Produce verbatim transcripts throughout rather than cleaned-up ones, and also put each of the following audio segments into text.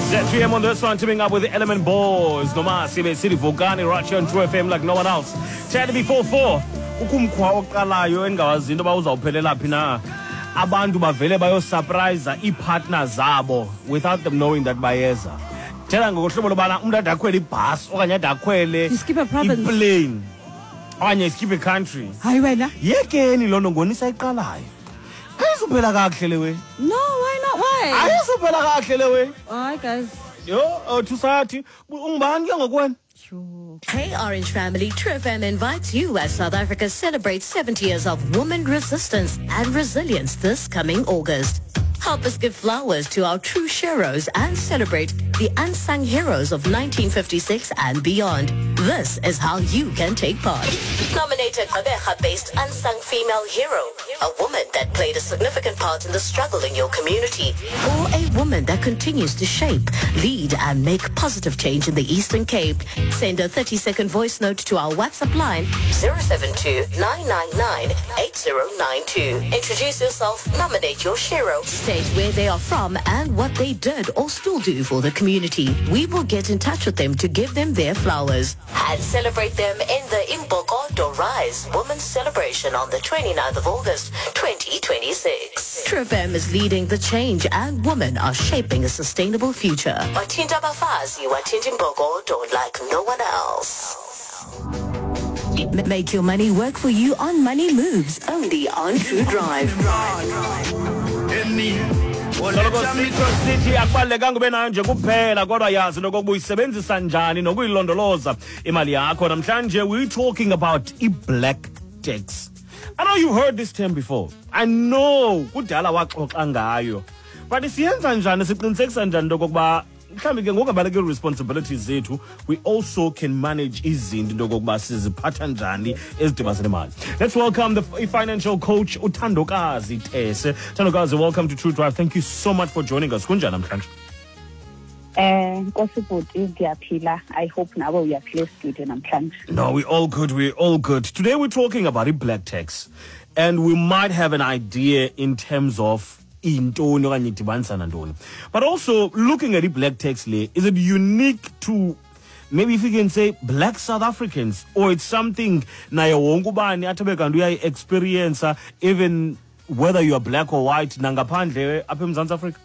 Z three M on this one, teaming up with the Element Boys. Noma sibe sithi vukani right here on True F M like no one else. ten before four. Ukumkhwa oqalayo engawazi into yoba uzawuphelela phi na. Abantu bavele bayosurprise ii-partner zabo without them knowing that bayeza. Thetha ngohlobo lobana umntu ade akhwele ibhasi okanye ade akhwele You skip a province. Iplane okanye skip a country. Hayi wena. Yekeni loo nto ngonisayiqalayo. Ayizuphela kakuhle le we. No, why not? Why? Ayizuphela kakuhle le we. Hayi guys. Yho, thusathi ungubani ke ngokwena? Sure. Hey Orange family, True F M invites you as South Africa celebrates seventy years of woman resistance and resilience this coming August. Help us give flowers to our true heroes and celebrate the unsung heroes of nineteen fifty-six and beyond. This is how you can take part. Nominate a Gqeberha-based unsung female hero, a woman that played a significant part in the struggle in your community, or a woman that continues to shape, lead, and make positive change in the Eastern Cape. Send a thirty-second voice note to our WhatsApp line zero seven two nine nine nine eight zero nine two. Introduce yourself, nominate your hero, state where they are from and what they did or still do for the community. We will get in touch with them to give them their flowers and celebrate them in the Imbokodo Rise Women's Celebration on the twenty-ninth of August twenty twenty-six. True F M is leading the change and women are shaping a sustainable future. Wathinta abafazi, wathinta imbokodo like no one else. M- Make your money work for you on Money Moves, only on True Drive. Soloko sitsho sithi akubalulekanga ube nayo nje kuphela, kodwa yazi nokokuba uyisebenzisa njani nokuyilondoloza imali yakho. Namhlanje we're talking about i-black tax. I know you've heard this term before. I know kudala waxoxa ngayo, but siyenza njani, siqinisekisa njani into okokuba mhlawumbi ke ngokungabaleki responsibilities zethu, we also can manage izinto into okokuba siziphatha njani ezidibanise nemali? Let's welcome the financial coach, uThandokazi Tese. Thandokazi, welcome to True Drive. Thank you so much for joining us. Kunjani namhlanje? Eh Nkosi bhuti, ndiyaphila. I hope nawe uyaphila studio namhlanje. No, we're all good. We're all good. Today we're talking about i-black tax. And we might have an idea in terms of intoni okanye idibanisa nantoni. But also looking at i-black tax le, is it unique to, maybe if you can say, black South Africans, or it's something naye wonke ubani athi abe kanti uyayi-experience, even whether you are black or white, nangaphandle apha eMzantsi Afrika?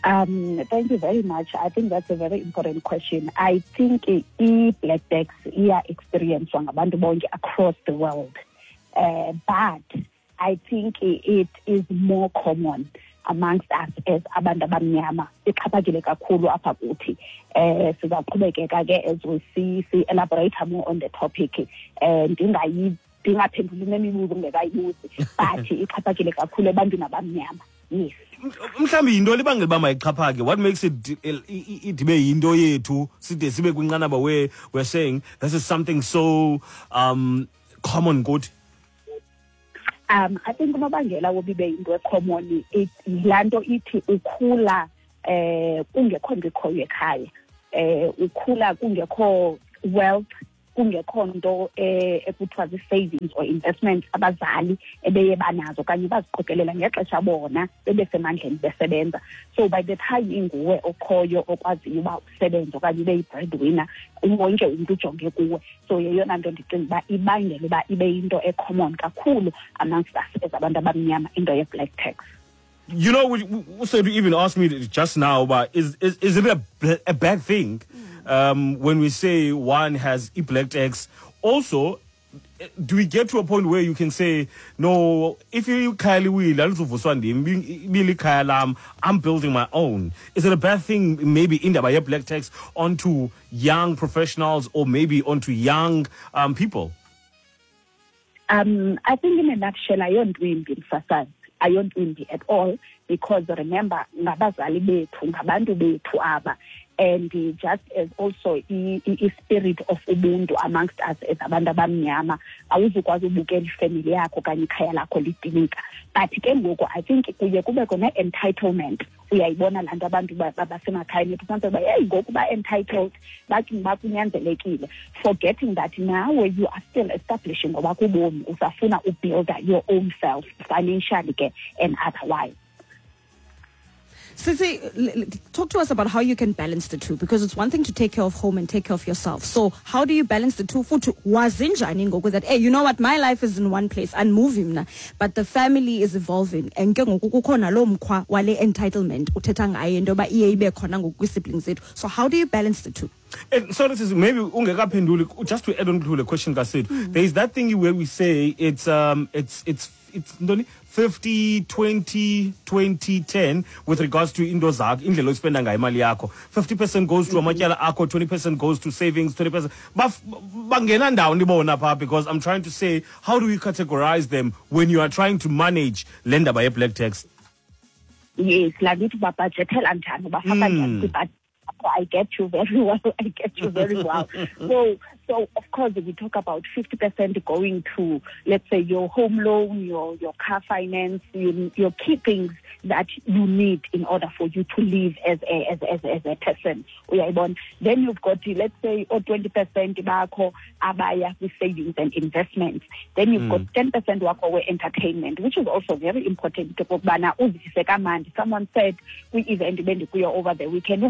Um thank you very much. I think that's a very important question. I think i-black tax iya experience ngabantu bonke across the world. Uh, but I think it is more common amongst us as abantu abamnyama. Ixhaphakile kakhulu apha kuthi. Eh sizaqhubekeka ke as we see see elaborate more on the topic. Eh ndingayi ndingaphenduli nemibuzo ngekayibuzi, but ixhaphakile kakhulu ebantwini abamnyama. Yes. Mhlawumbi yinto libangela uba mayixhaphake? What makes it idibe yinto yethu, side sibe kwinqanaba where we're saying this is something so um common kuthi? Um I think unobangela woba ibe yinto ecommon yilaa nto ithi ukhula eh kungekho nto ikhoyo ekhaya, eh ukhula kungekho wealth, kungekho nto eh ekuthiwa zii-savings or investments abazali ebeye banazo okanye baziqokelela ngexesha bona bebesemandleni besebenza. So by the time inguwe okhoyo okwaziyo uba usebenze okanye ube yi-breadwinner, wonke umntu ujonge kuwe. So yeyona nto ndicinga uba ibangela uba ibe yinto ecommon kakhulu amongst us as abantu abamnyama, into ye-black tax. You know, we, we said you even asked me just now, but is is, is it a, a bad thing um, when we say one has e-black tax? Also, do we get to a point where you can say, "No, if you ikhaya liwile alizuvuswa ndim, ibile ikhaya lam, I'm building my own"? Is it a bad thing, maybe indaba ye-black tax onto young professionals or maybe onto young um, people? Um, I think in a nutshell, ayonto imbi, msasazi, ayonto imbi at all, because remember, ngabazali bethu, ngabantu bethu aba, and just as also i-spirit of ubuntu amongst us as abantu abamnyama, awuzukwazi ubukela ifamily yakho okanye ikhaya lakho lidilika. But ke ngoku I think kuye kubekho ne-entitlement. Uyayibona laa nto, abantu basemakhayeni ethu ufumaniseke uba yeyi ngoku ba-entitled, bathi bakunyanzelekile, forgetting that nawe you are still establishing ngoba kubomi usafuna ubuilda your own self financially ke and otherwise. Sisi, talk to us about how you can balance the two, because it's one thing to take care of home and take care of yourself. So how do you balance the two? Futhi wazinjani ngoku that, hey, you know what, my life is in one place and moving mna, but the family is evolving. And ke ngoku kukhona lo mkhwa wale entitlement uthetha ngayo into yoba iye ibe khona ngoku kwii-siblings zethu. So how do you balance the two? And so this is maybe ungekaphenduli, just to add on to the question kaSid, mm. there is that thing where we say it's um it's it's it's fifty, twenty, twenty, ten with regards to into zakho, indlela ospenda ngayo imali yakho. fifty percent goes to amatyala akho, twenty percent goes to savings, twenty percent. Bangena ndawo ndibona pha, because I'm trying to say, how do we categorize them when you are trying to manage le ndaba ye-black tax? Yes, la nto ithi babhajethela njani, bafaka njani kwibhajethi. I get you very well. I get you very well. So, so of course, we talk about fifty percent going to, let's say, your home loan, your, your car finance, your, your key things that you need in order for you to live as a, as, as, as a person. Then you've got, let's say, oh, twenty percent bakho abaya with savings and investments. Then you've mm. got ten percent wakho we entertainment, which is also very important. Someone said, we event over the weekend,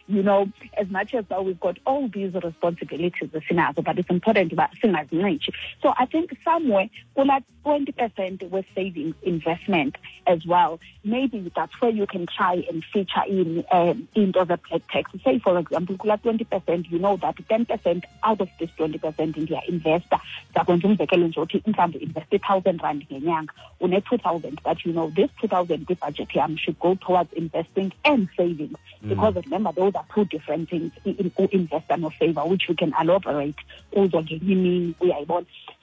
you know, as much as we've got all these responsibilities, but it's important about. So I think somewhere, twenty percent with savings investment as well. Maybe that's where you can try and feature in um, into the black tax. Say, for example, twenty percent, you know that ten percent out of this twenty percent in their investor, invest thousand rand ngenyanga, une two thousand, but you know, this two thousand budget here should go towards investing and savings. Mm. Because remember, those are two different things, in, in, invest and saver, which we can elaborate.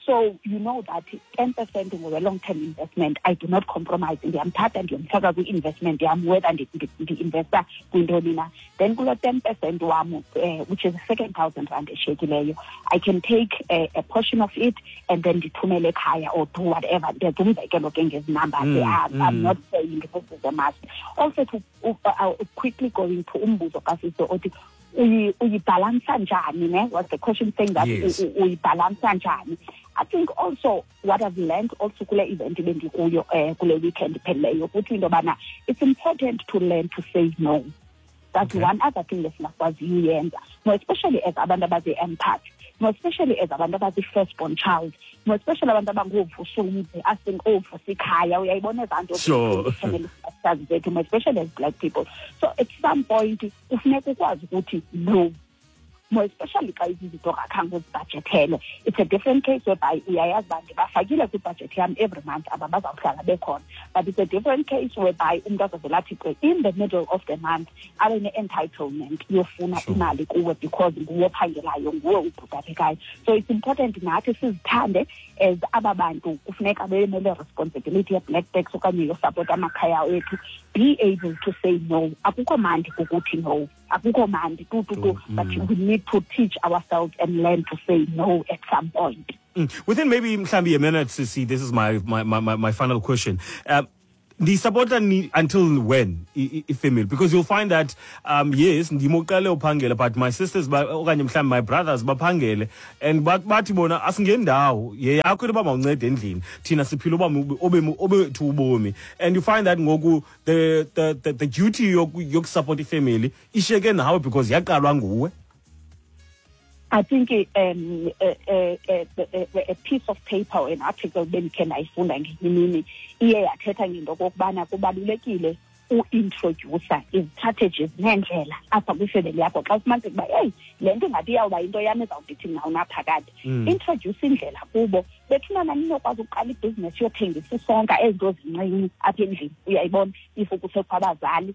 So you know that ten percent of a long-term investment, I do not compromise. Ndiyamthatha ndiyomfaka kwi-investment yam, whether ndi-investa kwintoni na. Then kulo ten percent wam, uh, which is the second thousand rand eshiyekileyo, I can take a, a portion of it and then ndithumele ekhaya or do whatever. Ndenza umzekelo ke ngezi numbers. Mm, I'm, mm. I'm not saying this is a must. Also, to uh, uh, quickly going to umbuzo kaSiso othi, uyibalansa njani, ne? Was the question saying that yes. Uyibalansa njani? I think also what I've learned also kule event bendikuyo eh kule weekend phelileyo ukuthi into bana it's important to learn to say no. That's okay. One other thing esingakwaziyo uyenza. More especially as abantu abazi-empath, more especially as abantu abazi-firstborn child, more especially abantu abangoovusumzi, asingovusa ikhaya, uyayibona ezaa nto family structures zethu, more especially as black people. So at some point kufuneka ukwazi ukuthi no. More especially xa izinto akhange uzibhajethele. It's a different case whereby uyayazi uba ndibafakile kwibhajethi yam every month aba bazawuhlala bekhona. But it's a different case whereby umntu azovela athi in the middle of the month abe ne-entitlement yofuna imali kuwe because nguwe ophangelayo, nguwe ubhutapekayo. So it's important nathi sizithande as aba bantu kufuneka bemele responsibility ye-black tax okanye yosupport amakhaya ethu. Be able to say no. Akukho mandi kukuthi no. Akukho mandi tu tu tu. But we need to teach ourselves and learn to say no at some point. Mm. Within maybe mhlambi a minute, Sisi, this is my my my, my final question. Uh, the supporter need until when female, because you'll find that um yes ndimoqale uphangela, but my sisters okanye mhlambi my brothers baphangele and bathi bona asingendawo yeyakho into mawuncede endlini thina siphila uba obe obethu ubomi, and you find that ngoku the the the, the duty yokusupport ifamily isheke nawe because yaqalwa nguwe. I think um, a, a, a, a, a piece of paper or an article bendikhe ndayifunda ngenye imini iye yathetha ngento okokubana kubalulekile u-introducer izi-strategies neendlela apha kwifemeli yakho. Xa ufumaniseka uba heyi le nto ingathi iyawuba yinto yam ezawundithi mna unaphakade, introduce indlela kubo. Bethuna naninokwazi ukuqala ibhizinesi yothengisa isonka ezinto zincinci apha endlini, uyayibona, if kusekho abazali.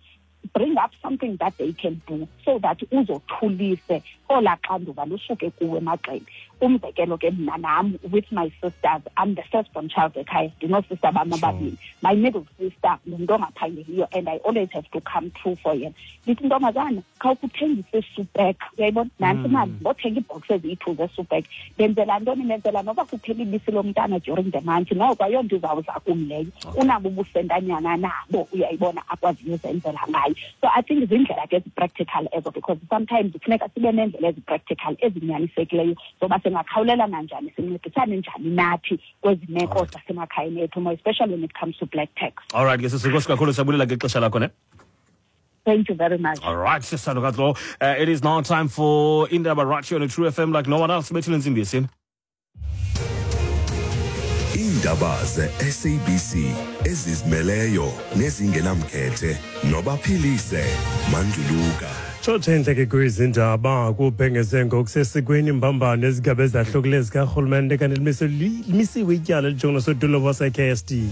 Bring up something that they can do so that uzothulise olaa xanduva lusuke kuwe emagxeni. Umzekelo ke mna nam with my sisters, I'm the firstborn child ekhaya, ndinoosista bam ababini. My middle sister ngumntu ongaphangeliyo and I always have to come through for yena. Ndithi ntombazana khawukuthengise isupek, uyayibona, nantsi imali ndothenga iibhoksi eziyi-two zesupek. Ndenzela ntoni? Ndenzela noba kuphela ibisi lomntana during the month, noko ayonto izawuza kum leyo. Unabo ubusentanyana nabo, uyayibona, akwaziyo uzenzela ngayo. So I think zindlela ke ezi-practical ezo, because sometimes kufuneka sibe neendlela ezi-practical ezinyanisekileyo zoba singakhawulelana njani, sincedisane njani nathi kwezi meko zasemakhayeni ethu, more especially when it comes to black tax. All right, ke sisi, enkosi kakhulu, siyabulela ngexesha lakho ne. Thank you very much. All right, Sister Nokatlo. Uh, it is now time for Indaba right here on the True F M like no one else. Indaba ze-S A B C ezizimeleyo nezingenamkhethe nobaphilise Manduluka. Tshotshe ke kwizindaba kubhengeze ngokusesikweni imbambano ezigaba ezahlukileyo zikarhulumente kanti limisiwe ityala elijongene sodolophu wase-K S D.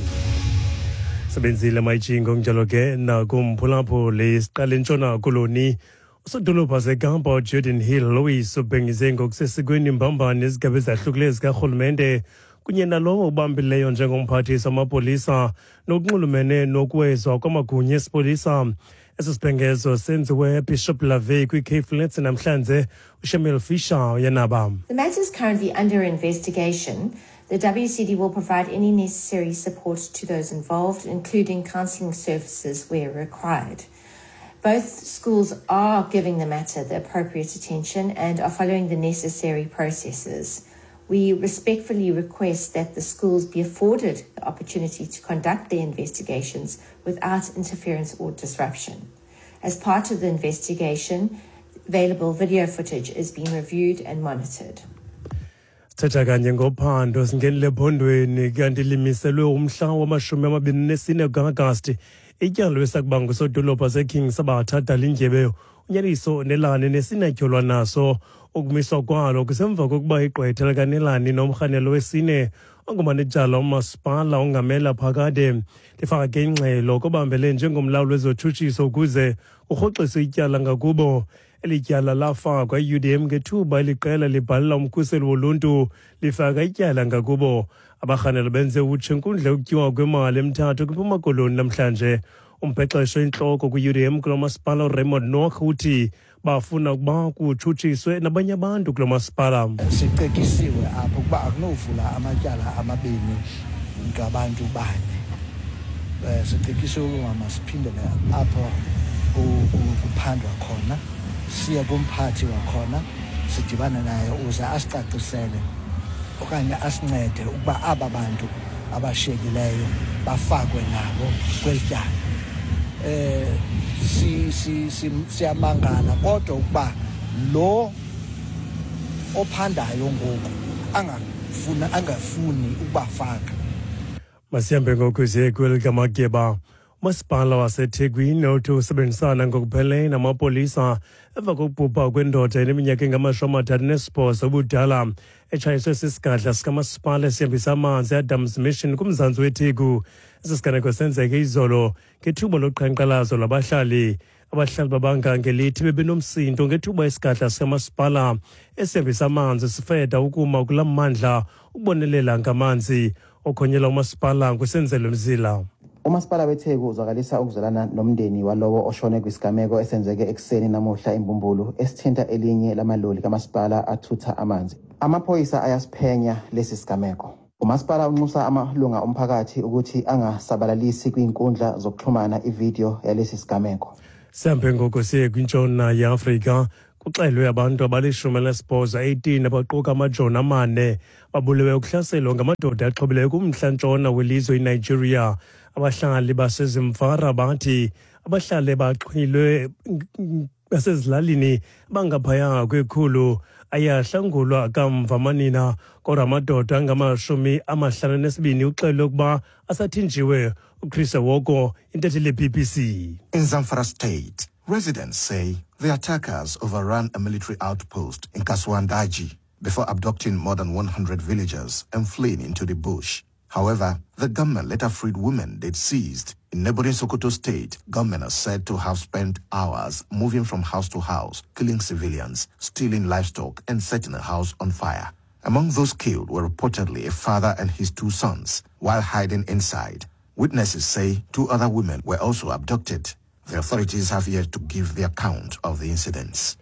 Sebenzile mayijingo njalo ke nakumphulaphuli siqale Ntshona Koloni. Usodolophu waseKapa uGeordin Hill-Lewis ubhengeze ngokusesikweni imbambano ezigaba ezahlukileyo zikarhulumente kunye nalowo ubambileyo njengomphathiswa wamapolisa nokunxulumene nokuwezwa kwamagunya esipolisa. Esi sibhengezo senziwe eBishop Lavey kwi-Cape Flats namhlanje. uShamil Fisher uyanaba. The matter is currently under investigation. The W C D will provide any necessary support to those involved, including counselling services where required. Both schools are giving the matter the appropriate attention and are following the necessary processes. We respectfully request that the schools be afforded the opportunity to conduct their investigations without interference or disruption. As part of the investigation, available video footage is being reviewed and monitored. Sithetha kanye ngophando singenile ephondweni kanti limiselwe umhla wamashumi amabini nesine ka-Agasti ityala esakuba ngusodolophu waseKing Sabatha Dalindyebe uNyaniso Nelani nesinatyholwa naso. Ukumiswa kwalo kusemva kokuba igqwetha likaNelani nomrhanelo wesine ongumanejala umasipala ongamela phakade lifake ingxelo kobambele njengomlawuli wezotshutshiso ukuze kurhoxiswe ityala ngakubo. Eli tyala lafakwa i-U D M ngethuba eliqela libhalela umkhuseli woluntu lifaka ityala ngakubo. Abarhanelo benze utshe inkundla yokutyiwa kwemali eMthatha kwiMpuma Koloni namhlanje. Umbhexesho intloko kwi-U D M kulo masipala uRaymond Nock uthi bafuna ukuba kutshutshiswe nabanye abantu kulo masipala. Sicetyisiwe apho ukuba akunovula amatyala amabini ngabantu bane. Sicetyisiwe ukuba masiphindele apho kuphandwa khona, siye kumphathi wakhona, sidibane naye uze asicacisele okanye asincede ukuba aba bantu abashiyekileyo bafakwe nabo kweli tyala. Eh si si siyamangala kodwa ukuba lo ophandayo ngoku angafuna angafuni ukubafaka. Masihambe ngoku siye kwelikamageba. Umasipala waseThekwini uthi usebenzisana ngokupheleleyo namapolisa emva kokubhubha kwendoda eneminyaka engamashumi amathathu nesibhozo ubudala etshayiswe sisigadla sikamasipala esihambisa amanzi eAdams Mission kumzantsi weTheku. Esi siganeko senzeke izolo ngethuba loqhankqalazo lwabahlali. Abahlali babanga ngelithi bebenomsindo ngethuba isigadla sikamasipala esihambisa amanzi sifeda ukuma kula mmandla ukubonelela ngamanzi. Okhonyela umasipala nguSenzelo Mzila. Umasipala weTheku uzwakalisa ukuzwelana nomndeni walowo oshone kwisigameko esenzeke ekuseni namuhla eMbumbulu esithinta elinye lamaloli kamasipala athutha amanzi. Amaphoyisa ayasiphenya lesi sigameko. Umasipala unxusa amalunga omphakathi ukuthi angasabalalisi kwinkundla zokuxhumana ividiyo yalesi sigameko. Sihambe ngoku siye kwintshona yeAfrika. Kuxelwe abantu abalishumi elinesibhozo eighteen abaquka amajoni amane babulewe ukuhlaselwa ngamadoda axhobileyo kumntla-ntshona welizwe iNigeria. Abahlali baseZimfara bathi abahlali baxhilwe basezilalini bangaphaya kwekhulu ayahlangulwa kamva manina, kodwa amadoda angamashumi amahlanu nesibini uxelwe ukuba asathinjiwe. uChris Woko, intatheli ye-B B C. In Zamfara State, residents say the attackers overran a military outpost in Kasuandaji before abducting more than one hundred villagers and fleeing into the bush. However, the gunmen later freed women they'd seized. In neighboring Sokoto State, gunmen are said to have spent hours moving from house to house, killing civilians, stealing livestock, and setting a house on fire. Among those killed were reportedly a father and his two sons, while hiding inside. Witnesses say two other women were also abducted. The authorities have yet to give their account of the incidents.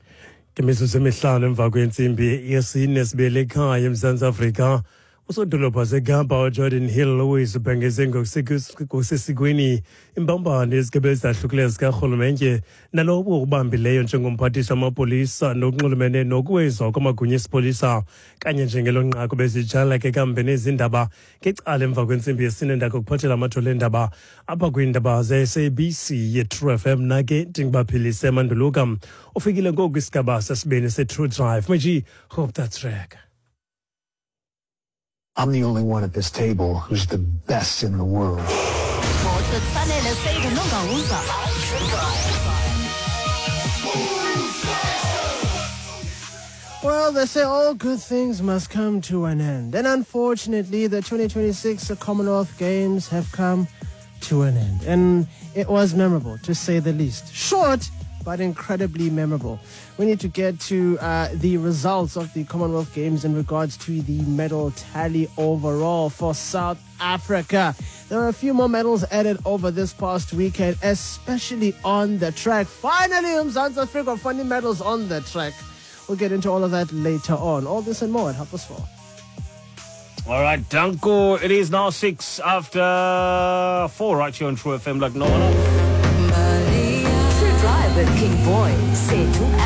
Imizuzu emihlanu emva kwentsimbi yesine sibele ekhaya eMzantsi Afrika. Usodolophu waseKapa uGeordin Hill-Lewis ubhengeze ngokusesikweni imbambano yezigaba ezahlukileyo zikarhulumente nalowo ubambileyo njengomphathiswa wamapolisa nokunxulumene nokuwezwa kwamagunya esipolisa. Kanye njengelo nqaku bezitshala ke kambe nezindaba ngecala emva kwentsimbi yesine ndako kuphathela amathole endaba apha kwiindaba ze-S A B C ye-True F M. Nake ndingubaphilise Manduluka. Ufikile ngoku isigaba sesibini se-True Drive. Meji, hope that's track. I'm the only one at this table who's the best in the world. Well, they say all good things must come to an end. And unfortunately, the twenty twenty-six Commonwealth Games have come to an end. And it was memorable, to say the least. Short, but incredibly memorable. We need to get to uh, the results of the Commonwealth Games in regards to the medal tally overall for South Africa. There are a few more medals added over this past weekend, especially on the track. Finally, Mzansi Africa funny medals on the track. We'll get into all of that later on. All this and more at half past four. All right, Danko. It is now six after four right here on True F M like no one else. True Drive with King Boy, Setu.